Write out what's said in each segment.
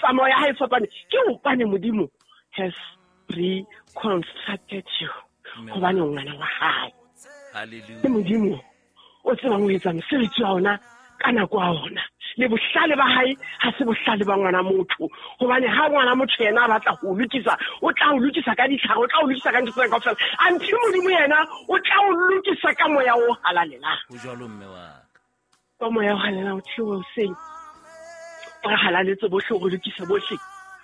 Metsamao ya hae e fapane. Ke hobane Modimo has reconstructed you. Hobane o ngwana wa hae. Ke Modimo o tsebang ho etsa mosebetsi wa ona ka nako ya ona. Le bohlale ba hae ha se bohlale ba ngwana motho, hobane ha ngwana motho yena a batla ho lokisa, o tla o lokisa ka ditlhare, o tla o lokisa ka ntho tsena kaofela. Anthe Modimo yena o tla o lokisa ka moya o halalelang. Ho jwalo, mme wa ka. Ka moya o halalelang o theohe hoseng, o re halaletse bohle, o re lokise bohle,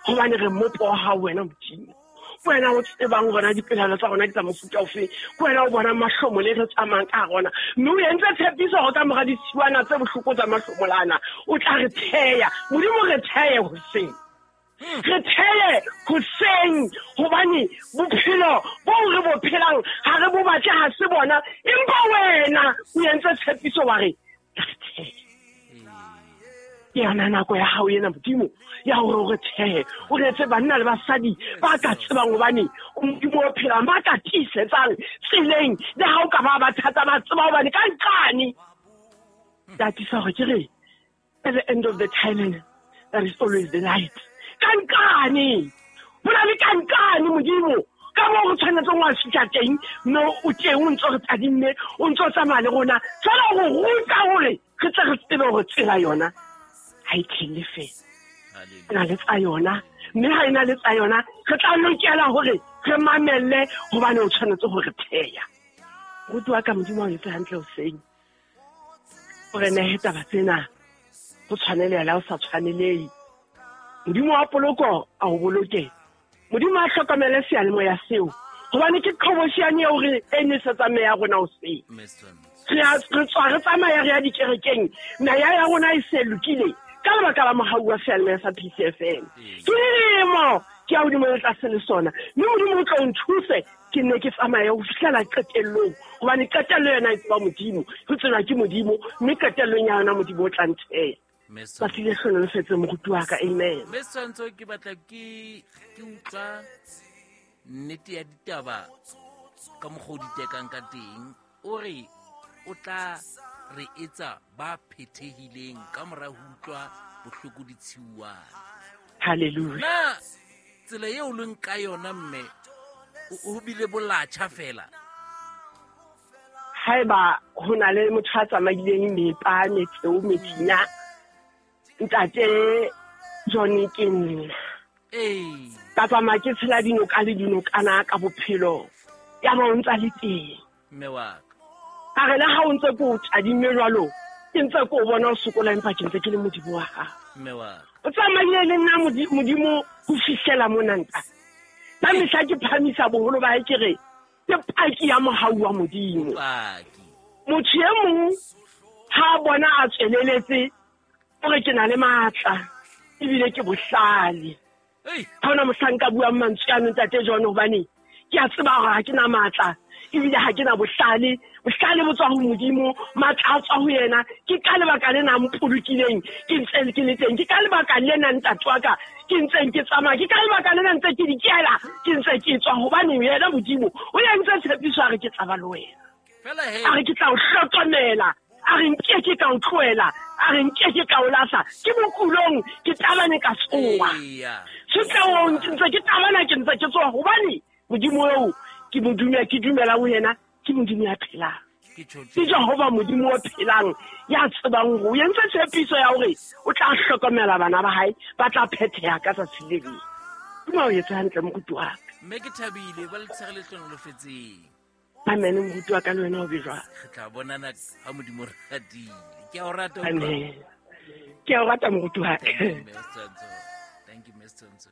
hobane re mmopo wa hao wena Modimo. Ke wena o tsebang rona dipelaelo tsa rona ke tsa mofuta ofe, ke wena o bonang mahlomo le re tsamayang ka rona, mme o entse tshepiso hore ka mora ditshiwana tse bohloko tsa mahlomolana o tla re theya. Modimo, re theye hoseng, re theye hoseng, hobane bophelo boo re bo phelang ha re bo batle, ha se bona, empa wena o entse tshepiso wa re re theye. Ke yona nako ya hao ena Modimo ya hore o re thehe, o re etse banna le basadi ba ka tsebang hobane o Modimo o phelang, ba ka tiisetsang tseleng le ha o ka ba ba thata, ba tseba hobane ka nqane. Ke atisa hore ke re at the end of the tunnel there is always the light. Ka nqane, ho na le ka nqane Modimo, ka moo re tshwanetseng wa fihla teng, mme o teng o ntso re tadimme, o ntso tsamaya le rona fela go ruta hore re tle re tsebe hore tsela yona ha e thelle fela, e na le tsa yona, mme ha e na le tsa yona re tla lokela hore re mamelle, hobane o tshwanetse ho re theya. Moruti wa ka, Modimo a o etse hantle hoseng, o re nehe taba tsena go tshwaneleha o sa tshwanelehe. Modimo wa poloko a o boloke, Modimo a hlokomele seyalemoya seo, hobane ke qhoboshiane eo re e nesetsang meya ya rona hoseng. Re tswa re tsamaya re ya dikerekeng, meya ya rona e se lokile ka lebaka la mohau wa seyalemoya sa PCFM. Ke dilemo ke ya hodimo le tlase le sona, mme Modimo o tlo nthuse ke nne ke tsamaye ho fihlela qetellong, hobane qetello yona e tseba Modimo, ho tseba ke Modimo, mme qetellong ya yona Modimo o tla ntheya. Tsatsi le hlonolofetse moruti wa ka, amen. Mme Setshwantsho, ke batla ke utlwa nnete ya ditaba ka mokgwa o di tekang ka teng. O re o tla re etsa ba phethehileng ka mora ho utlwa bohloko ditshiuwana. Hallelujah. Na tsela eo leng ka yona mme o bile bolatjha fela? Haeba ho na le motho a tsamaileng mepa, metseo, methinya, ntate John ke nna. Ka tsamaya ke tshela dinoka le dinokana ka bophelo, ya ba o ntsa le teng. Mme wa ka. Ka re le ha o ntse ke o tadime jwalo, ke ntse ke o bona o sokola, empa ke ntse ke le Modimo wa gago. Mme wa ka. O tsamaile le nna Modimo ho fihlela mona ntate. Ka mehla ke phamisa boholo ba hae ke re ke paki ya mohau wa Modimo. Paki. Motho e mong ha a bona a tsweleletse, o re ke na le matla ebile ke bohlale. Ha hona mohla nka buang mantswe ano ntate John, hobane ke a tseba hore ha ke na matla ebile ha ke na bohlale. Bohlale bo tswa ho Modimo, matla a tswa ho yena. Ke ka lebaka lena a mpolokileng ke ntse ke le teng, ke ka lebaka lena ntate wa ka ke ntseng ke tsamaya, ke ka lebaka lena ntse ke dikela, ke ntse ke tswa, hobane yena Modimo o entse tshepiso a re ke tla ba le wena. A re ke tla o hlokomela, a re nke ke ka o tlohela, a re nke ke ka o lahla. Ke bokulong ke tabane ka tsoha, setleong ke ntse ke tabana, ke ntse ke tsoha, hobane Modimo eo ke mo dumela, ke dumela ho yena, ke Modimo ya phelang. Ke Jehova Modimo o phelang, ya tsebang hore o entse tshepiso ya hore o tla hlokomela bana ba hae, ba tla phetheha ka tsatsi le leng. Modimo a o etse hantle moruti wa ka. Mme ke thabile, ba le tshege le hlonolofetseng. Amen, moruti wa ka le wena o be jwang. Re tla bonana ha Modimo re ratile. Ke a o rata, utlwa. Amen. Ke a o rata moruti wa ka. Thank you, Mme Setshwantsho. Thank you, Mme Setshwantsho.